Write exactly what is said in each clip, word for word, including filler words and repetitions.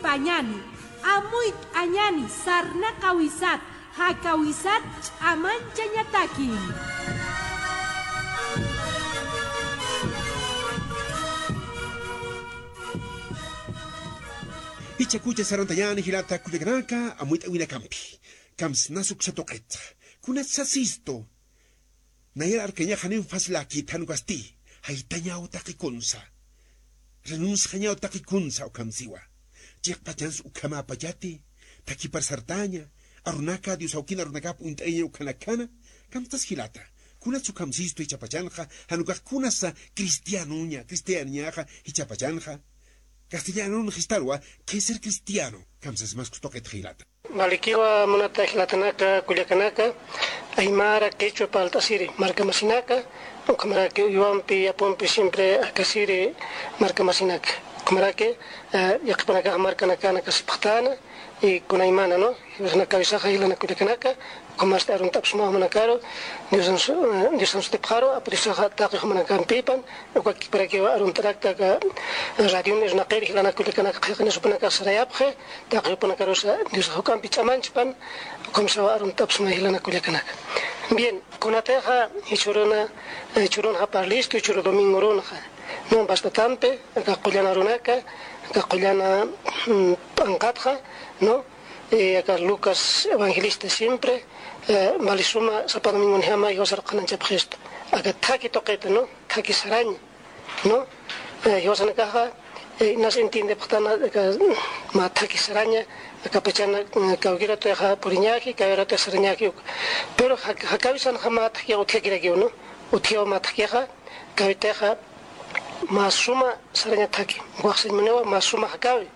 Pañani, amuyt'añani, sarnaqawisat, jakawisat ch'amanchañataki. Jichhakucha sarantañäni jilata kullakanaka, amuyt'awinakampi. Kamsnas uksa tuqitxa. Kunats sasistu. Nayar arkañax janiw facilakit, jan ukasti jaytañaw taqi kunsa. Renunciañaw taqi kunsa ukham siwa. Chiqpachans ukhamäpachati, thakipar sartaña, arunaka, Dios awkin arunakap uñt'ayaña ukhanakana, kamstas jilata. Kunats ukham sistu jichhapachanxa, jan ukax kunasa cristianoña, cristianoñaxa jichhapachanxa. Castellanun jistarwa, ¿qué es ser cristiano? Kamsas mas kustuqit jilata. Valikiwa munata jilatanaka, kullakanaka, aymara, quechua parlt'asiri markamasinaka, ukhamaraki uywampi, yapumpi siempre akasiri markamasinaka. Ukhamaraki, eh, yaqhipanakax markanakana kasipxtäna, y kunaymana, ¿no? Jiwasanakawisaxa jilana kullakanaka, ukhamasti arunt'apxsma jumanakaru, Diosan su-, eh, Diosan sutipxaru, Apu Diosaxa taqi jumanakampipan, uka kikparakiwa arunt'arakta aka radion irnaqiri jilana kullakanaka qhiqanis jupanakax sarayapxi, taqi jupanakarusa Diosax juk'ampi ch'amanchpan, ukhamsawa arunt'apxsma jilana kullakanaka. Bien, kunatixa jichhüruna, eh, jichhürunxa parlistu, jichhüru domingorunxa, ¿no? Bastatampi, aka qullan arunaka, aka qullan, mm, p'anqatxa, ¿no? Eh, aka Lucas Evangelista siempre, eh, valisuma sapa domingonjama jiwasar qhananchapxistu. Aka thaki tuqita, ¿no? Thaki saraña, ¿no? Eh, jiwasanakaxa, eh, inas entiendepxtana, aka mä thaki saraña, aka pachana, eh, kawkïr ratuxa puriñaki, kawkïr ratuxa sarañaki uka. Pero ja-, jakawisanxa mä thakixa utjakirakiw, ¿no? Utjiwa mä thakixa, kawitixa, mä suma saraña thaki, ukax sañ muniwa mä suma jakawi.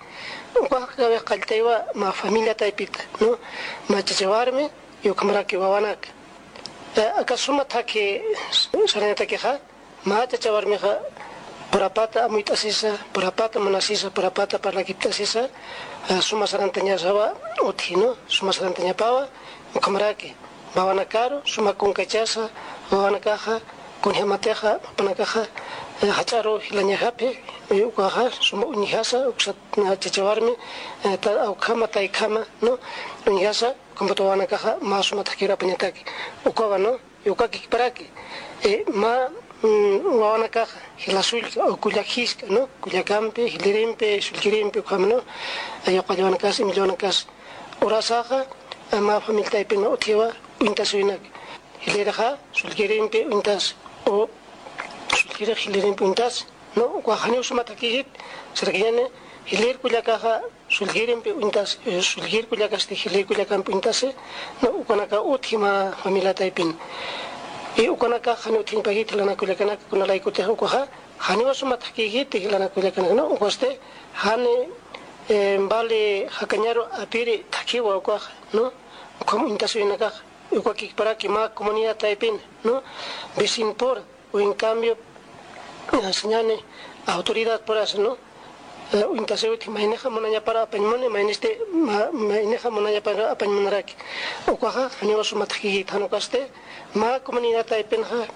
Uka jakawix qalltaywa mä familia taypita, ¿no? Mä chacha warmi, y ukhamaraki wawanaka. Eh, aka suma thaki sarañatakixa, mä chacha warmixa purapata amuyt'asisa, purapata munasisa, purapata parlakipt'asisa, eh, suma sarantañasawa utji, ¿no? Suma sarantañapawa, ukhamaraki. Wawanakaru suma kunkachasa, wawanakaxa, kunjamatixa, jupanakaxa, eh, jach'aru jilañajapxi, eh, ukaxa, suma uñjasa, uksat, na, chacha warmi, eh, ta, awkhama, taykhama, ¿no? Uñjasa, ukhamapat wawanakaxa, mä suma thakir apañataki. Ukawa, ¿no? Uka kikparaki, eh, mä, mm, wawanakaxa, jila sullka, o kullak jisk'a, ¿no? Kullakampi, jilirimpi, sullkirimpi, ukhama, ¿no? Eh, uka wawanakas, imillawanakas. Urasaxa, mä familia taypin utjiwa uñtasiwinak. Jilirxa sullkirimpi uñtas, o sullkirix jilirimpi uñtas, ¿no? Ukax janiw suma thakïjit, sarkañäni, jilir kullakaxa sullkirimpi uñtas, eh, sullkir kullakasti jilir kullakampi uñtasi, ¿no? Ukanaka utji mä familia taypin. Y ukanakax janiw utjiñapakïjit jilana kullakanaka, kuna laykutix ukaxa, janiwa suma thakïjiti jilana kullakanaka, ¿no? Ukasti, jani, eh, vali jakañaru apiri thakiwa ukaxa, ¿no? Ukham uñtasiwinakax, uka kikparaki mä comunidad taypin, ¿no? Vecinpura, o en cambio, eh, sañäni autoridadpurasa, ¿no? Eh, uñtasiw utji, maynixa munañapar apañ muni, maynisti, ma-, maynixa munañapar apañ munaraki. Ukaxa, janiwa suma thakïjit, jan ukasti, mä comunidad taypinxa,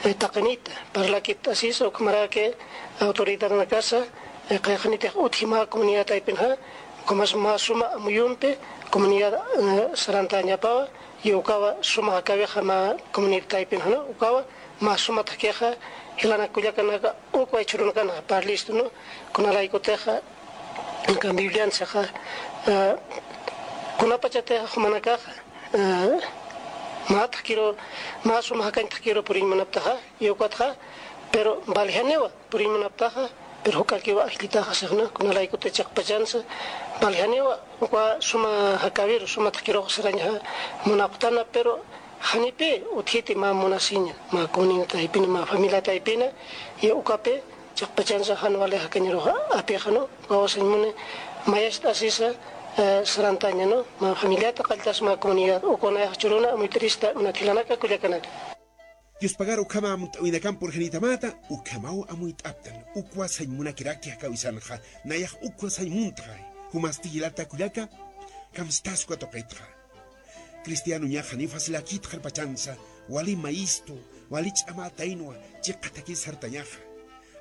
eh, taqinita, parlakipt'asisa, ukhamaraki autoridadnakasa, eh, qillqanitix utji mä comunidad taypinxa, ukhamas mä suma amuyumpi comunidad, eh, sarantañapawa, y ukawa suma jakawixa mä comunidad taypinxa, ¿no? Ukawa mä suma thakixa, jilana kullakanaka, uk jichhürunakanxa parlistu, ¿no? Kuna laykutixa, aka Bibliansaxa, eh, kunapachatix jumanakaxa, eh, mä thakiru, mä suma jakañ thakiru puriñ munaptaxa, y ukatxa, pero valjaniwa puriñ munaptaxa, pero juk'akiwa ajllitaxa sixna, kuna laykuti chiqpachansa, valjaniwa, uka suma jakawir, suma thakirux sarañxa munapxtana, pero janipï utjiti mä munasiña, mä comunidad taypina, mä familia taypina, y ukapi, chiqpachansa jan wali jakañarux apixa, ¿no? Ukawa sañ muni, mayacht'asisa, eh, sarantaña, ¿no? Mä familiata qalltas mä comunidad, uka nayax jichhüruna, amuyt'irista, munat jilanaka, kullakanaka. Dios pagar ukhama amuyt'awinakamp purxanitamata, ukhamaw amuyt'aptan, ukwa sañ munakiraki jakawisanxa, nayax ukwa sañ muntxa, jumasti jilata kullaka, kamstas uka tuqitxa. Cristianoñax janiw facilakït qharpachansa, wali mayistu, wali ch'amätaynwa, chiqa thakis sartañaxa.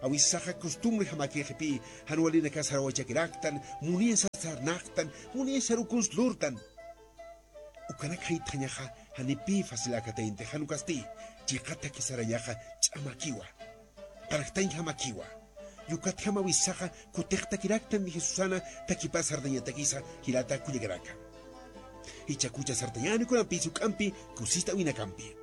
Awisaxa costumbre jamakixipï, jan walinaka sarawachakiraktan, munisa sarnaqtan, munisa sarukuns lurtan. Ukanak jayt'añaxa janipï facilakataynti, jan ukasti chiqataki sarañaxa ch'amakiwa, qallqtañ jamakiwa. Yukatjam awisaxa kutiqtakiraktan Jesusana takipar sartañatakisa, jilata kullakanaka. Jichhakucha sartañäni kunampis juk'ampi kusist'awinakampi.